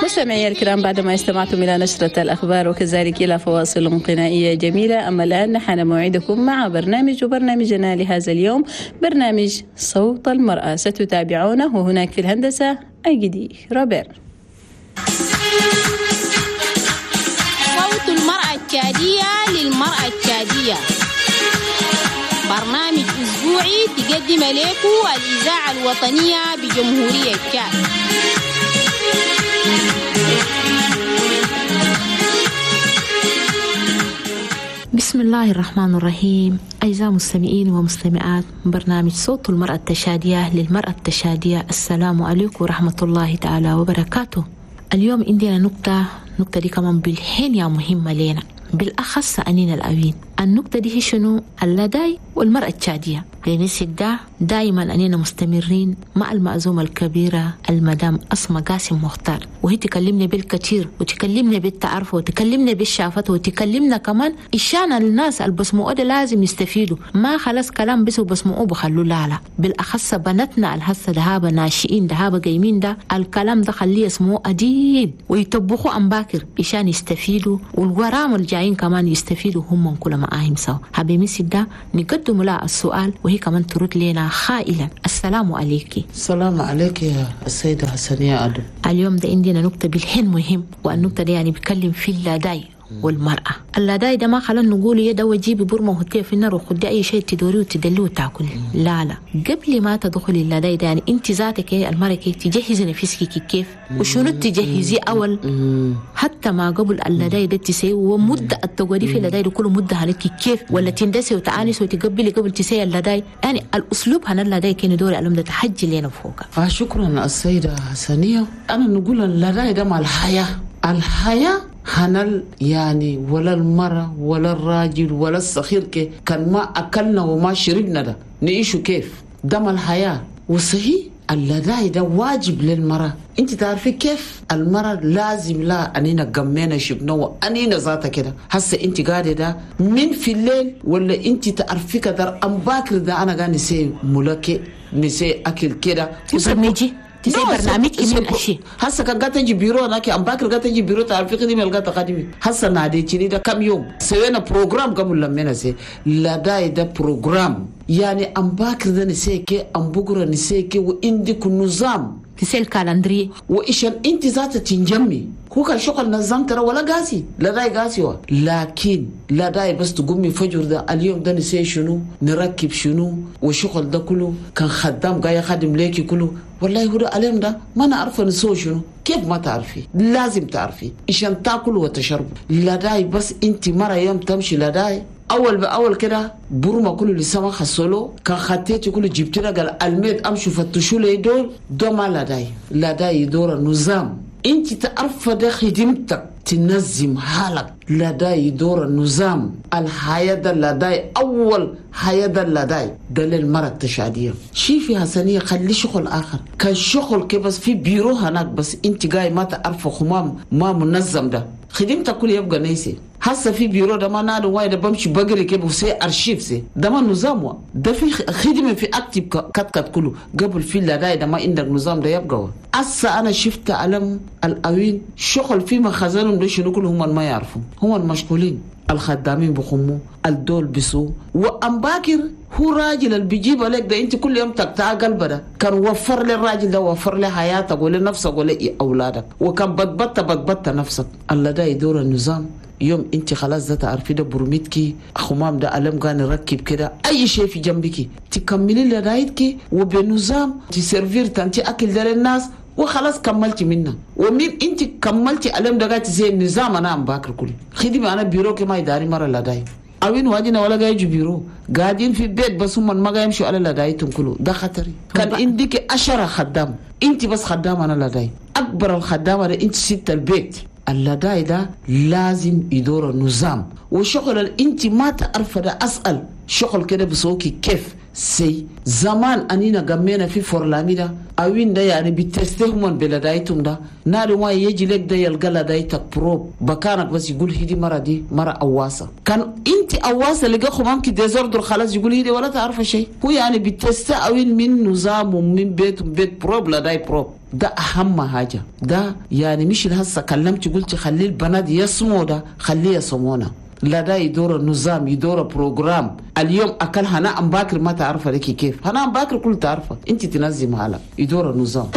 مستمعي الكرام، بعدما استمعتم إلى نشرة الأخبار وكذلك إلى فواصل غنائية جميلة، أما الآن نحن موعدكم مع برنامج وبرنامجنا لهذا اليوم برنامج صوت المرأة، ستتابعونه وهناك في الهندسة أجدي روبير. صوت المرأة التشادية للمرأة التشادية، برنامج أسبوعي تقدم لكم الإذاعة الوطنية بجمهورية تشاد. بسم الله الرحمن الرحيم. أعزائي المستمعين ومستمعات برنامج صوت المرأة التشادية للمرأة التشادية، السلام عليكم ورحمة الله تعالى وبركاته. اليوم عندنا نقطة دي كمان بالحين يا مهمة لنا، بالأخص أنين الأوين. النقطة دي هي شنو؟ اللداي والمرأة التشادية. لنسيك ده دائما أننا مستمرين مع المأزومة الكبيرة المدام أسماء قاسم مختار، وهي تكلمنا بالكثير وتكلمنا بالتعرف وتكلمنا بالشافات وتكلمنا كمان إشان الناس البسمعوا ده لازم يستفيدوا، ما خلاص كلام بس وبسمعوه بخلوا لا، بالأخص بناتنا الهسة دهابة ناشئين دهابة قايمين ده الكلام ده خليه يسمعوه أديل ويطبخوا أم باكر إشان يستفيدوا، والغرام الجايين كمان يستفيدوا هم كل معاهم سوا. حبيبي ده نقدم لها السؤال وهي كمان ترد لنا خائلا. السلام عليك. السلام عليك يا السيدة حسنية أدم. اليوم ده عندنا نقطة بالحين مهم، والنقطة دي يعني بيتكلم في اللداي والمرأة. اللداي ده ما خلنا نقول يا ده وجيبي برمة وحطيها في النار وخدي أي شيء تدوري وتدلي وتاكل، لا لا، قبل ما تدخلي اللداي ده يعني أنت ذاتك المرأة كيف تجهزي نفسك كيف وشنو تجهزي أول حتى ما قبل اللداي ده تسوي، ومدة التقعدي في اللداي ده كله مدة عليك كيف ولا تندسي وتعانسي وتقبلي قبل تسوي اللداي، يعني الأسلوب هنا اللداي كان دوري علم ده تحجي لنا فوق. شكرا السيدة حسنية. أنا نقول اللداي ده مع الحياة، الحياة هنل يعني ولا المرأة ولا الراجل ولا الصغير كان ما أكلنا وما شربنا ده نعيشه كيف؟ دم الحياة. وصحيح اللداي ده واجب للمرأة. انت تعرفي كيف المرأة لازم لا أنينا قمينا شبنا وأنينا ذاتها كده. هسه انت قاعدة ده من في الليل ولا انت تعرفي كدر أم باكر ده أنا قاعد نسي ملكي نسي أكل كده تبرمجي تسي برنامج من أشي. هسه كان قاعد تجي بيرو هناك أم باكر قاعد تجي بيرو تعرفي خدمة القاعد تخدمي. هسه ناديتني ده كم يوم سوينا program قبل لما نسي لا ده program يعني أم باكر ده نسيك أم بكرة نسيك وعندك نظام تسي ال calendrier وإيشان أنت ذات تنجمي هو كان شغل نظام ترى ولا قاسي لا داي قاسي وا. لكن لا داي بس تقومي فجر ده اليوم ده نسي شنو نركب شنو وشغل ده كله كان خدام جاي خادم ليكي كله والله هو ده اليوم ده ما نعرف نسوي شنو كيف ما تعرفي لازم تعرفي إيشان تاكل وتشرب لا داي بس أنت مرة يوم تمشي لا داي أول بأول كده برما كله لسما خسلو كان خطيتي كله جبتنا قال الميد أمشوا فتشوا لي دول دوما لا داي لا داي دور النظام أنت تعرف ده خدمتك تنظم حالك لا داي دور النظام الحياة ده لا داي أول حياة ده لا داي ده للمرأة التشادية شي في حسنية خلي شغل آخر كان شغل كده بس في بيرو هناك بس أنت جاي ما تعرف خمام ما منظم ده خدمتك كله يبقى نيسي. هسه في بيرو ده ما نادو وايد بمشي بقري كيف وسي ارشيف سي ده ما نظام ده في خدمه في اكتب كت كت كله قبل في لا ده ما عندك نظام ده يبقى. هسه انا شفت علم الاوين شغل في مخازنهم ده شنو كله هم ما يعرفوا هم المشغولين الخدامين بخمو الدول بسو وأم باكر هو راجل اللي بيجيب عليك ده انت كل يوم تقطع قلبه ده كان وفر للراجل ده وفر له حياتك ولنفسك ولأولادك وكان بتبت بتبت نفسك. الله ده يدور النظام يوم انت خلاص ده تعرفي ده برميتكي خمام ده ألم كان يركب كده اي شيء في جنبك تكملي لرايتك وبنظام تسيرفير تنتي اكل ده للناس وخلاص كملتي منه. ومن انت كملتي ألم ده قاعد زي النظام انا عم باكر كله خدمه انا بيروك ما يداري مره لا داي اوين واجينا ولا جاي بيرو قاعدين في البيت بس هم ما جاي يمشوا على لا دايتهم كله ده خطري. كان عندك 10 خدام انت بس خدام انا لا داي اكبر الخدامه ده انت ست البيت. اللداي ده لازم يدور النظام وشغل انت ما تعرف ده اسال شغل كده بسوكي كيف سي زمان انينا قمينا في فورلامي ده اوين ده يعني بتستهمن بلدايتهم ده نادي ما يجي لك ده يلقى لدايتك بروب بكانك بس يقول هدي مرة دي مرة أواسة كان انت أواسة لقى خمامك ديزوردر خلاص يقول هدي ولا تعرف شيء هو يعني بتست اوين من نظام ومن بيت بيت بروب لداي بروب. ده أهم حاجة. ده يعني مش هسه كلمت قلت خلي البنات يسمو ده، خليه يسمونا. لا ده يدور نظام، يدور programme. اليوم أكل هنا أم باكر ما تعرفه لك كيف، هنا أم باكر كل تعرفه، أنت تنظم هلا يدور نظام.